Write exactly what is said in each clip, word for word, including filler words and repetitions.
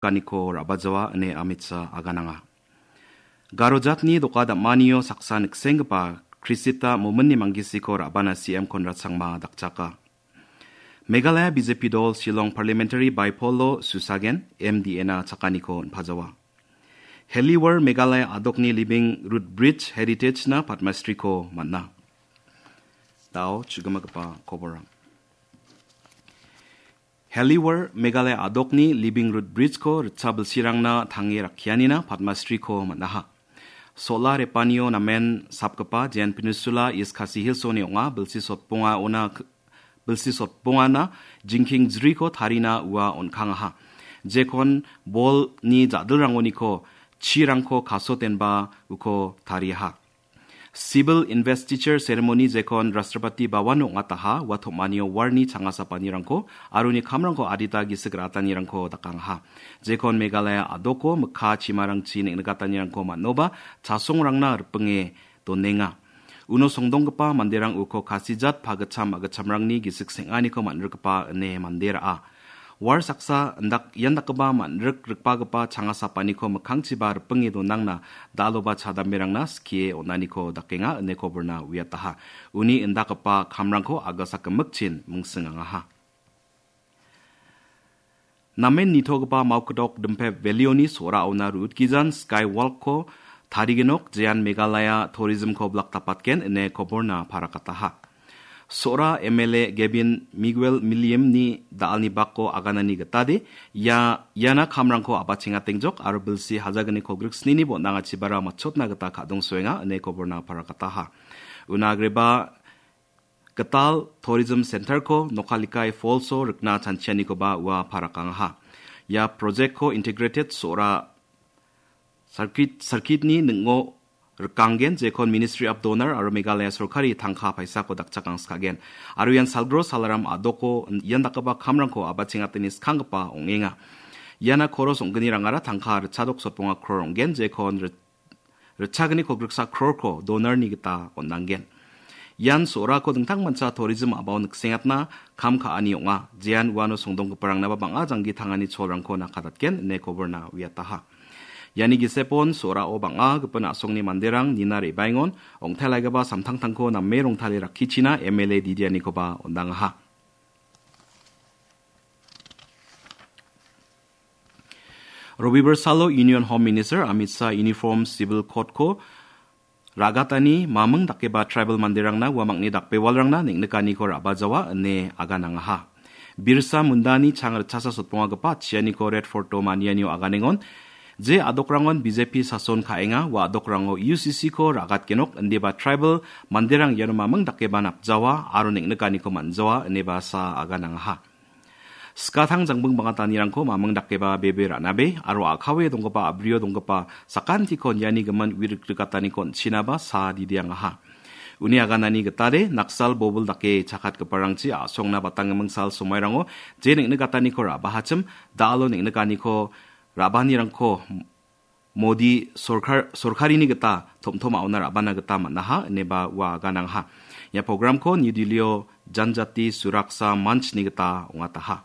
ripaniko ra·bajawa ine Amit Shah agananga. Garo jatni doka dam·anio saksa niksenggipa Krisita Mominni Manggisiko ra·bana C M Conrad Sangma dakchaka. Meghalaya B J P dol Shillong Parliamentary Bypoll-o Susagen M D A-na chakaniko on·pajawa. Heliwar Meghalaya a·dokni Living Root Bridge Heritage-na Padma Shri-ko man·a. Da·o chugimagipa koborrang. Heliwar Meghalaya a·dokni Living Root Bridge-ko ritcha bilsirangna tange rakkianina Padma Shri-ko man·aha. Sola repanio namen sapgipa Jain Peninsula East Khasi Hills-oni ong·a bilsi sotbongaona k-, bilsi sotbongana jingking jriko tarina ua on·kangaha. Jekon bolni ja·dilrangoniko chirangko kasotenba uko tariaha. Civil Investiture Ceremony jekon Rashtrapati Bhavan ong·ataha, ua tom·anio warni changasapanirangko aro uni kamrangko adita gisik ra·atanirangko dakangaha. Jekon Meghalaya a·doko mikka chimarangchi neng·nikatanirangko man·oba chasongrangna ripinge donenga. Uno songdonggipa manderang uko kasijat pagitcham agitchamrangni gisik seng·aniko man·rikgipa ine mande ra·a. War saksa indak-, ian dakgipa man·rik rikbagipa changasapaniko mikkangchiba ripinge donangna daloba chadamberangna skie on·aniko dakenga ine koborna uiataha. Uni indakgipa kamrangko agasa gimikchin mingsingangaha. Namen nitogipa Maukdok Dimpep Valley-oni so·raona rutgijan Skywalk-ko tarigenok jean Meghalaya tourism-ko blak dapatgen ine koborna parakataha. So·ra M L A Gavin Miguel Milliam-ni da·alni bako aganani gitade, ia, iana kamrangko a·bachengatengjok aro bilsi hajagniko griksnini bon·angachibara matchotna gita ka·dongsoenga ine koborna parakataha. Una agreba gital Tourism Center-ko Nokkalikai Falls-o rikna chanchianikoba ua parakangaha. Ia project-ko integrated so·ra circuit, circuit-ni ning·o rikanggen, jekon Ministry of Donor aro Meghalaya sorkari tangka paisako dakchakangskagen. Aro ian salgro salaram a·doko ian dakgipa kamrangko a·bachengatani skanggipa ong·enga. Iana koros ong·gnirangara tangka ritchadok sotbonga kror ong·gen, jekon rit-, ritchagniko griksa krorko donor-ni gita on·anggen. Ian so·rako dingtangmancha tourism a·bao niksengatna kam ka·ani ong·a. Jean uano songdonggiparangna ba bang·a janggi tangani cholrangko nakadatgen ine koborna uiataha. Iani gisepon so·rao bang·a gipin a·songni manderang nina re·baengon ong·telaigipa samtangtangko name rongtale rakkichina M L A didianikoba on·dangaha. Robibar salo Union Home Minister Amit Shah Uniform Civil Code-ko ra·gatani maming dakeba tribal manderangna uamangni dakbewalrangna neng·nikaniko ra·bajawa ine aganangaha. Birsa Mundani chang ritchasa sotbongagipa chianiko Red Fort-o manianio aganengon, je a·dokrangon B J P sason ka·enga, ua a·dokrango U C C-ko ra·gatgenok, indiba tribal manderang iano maming dakeba napjawa aro neng·nikaniko man·jawa ineba Shah aganangaha. Skatang jangbing bangatanirangko maming dakeba bebe ra·nabe aro a·kawe donggipa a·brio donggipa sakantikon iani gimin uirikrigataniko on·chinaba Shah didiangaha. Uni aganani gitade Naksal bobil dake chakatgiparangchi a·songna batangiming sal somairango je neng·nigataniko ra·bahachim da·alo neng·nikaniko ra·baanirangko Modi sorkar, sorkarini gita tom·tom a·ona ra·bana gita man·aha ineba ua aganangaha. Ia programko New Delhi-o Janjati Suraksa Manch-ni gita ong·ataha.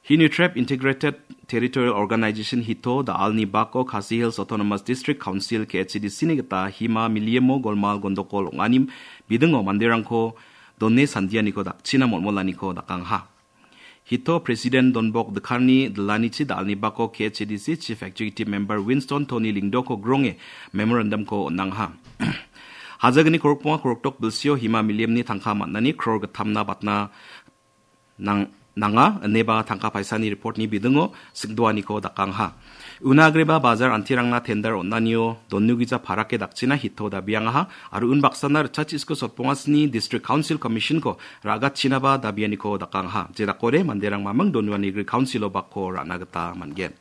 Hini Trep Integrated Territorial Organization hito da·alni bako Khasi Hills Autonomous District Council, K H A D C-ni gita hima miliemo golmal gondokol ong·ani bidingo manderangko done sandianiko dakchina molmolaniko dakangaha. Hito President Donbok Dkarni dilanichi da·alni bako K H A D C Chief Executive Member Winston Tony Lyngdoh-ko gronge memorandum-ko on·angaha. Hajagni korokbonga korokdok bilsio hima miliemni tangka man·ani kror gittamna batna nang-, nanga, ineba tangka paisani report-ni bidingo singdoaniko dakangaha. Una agreba bajar antirangna tender on·anio donugija parake dakchina hito dabiangaha, aro unbaksana ritchachiko sotbongasni District Council Commission-ko ra·gatchinaba dabianiko dakangaha. Jedakode manderang maming donuani gri council-o bakko ra·na gita man·gen.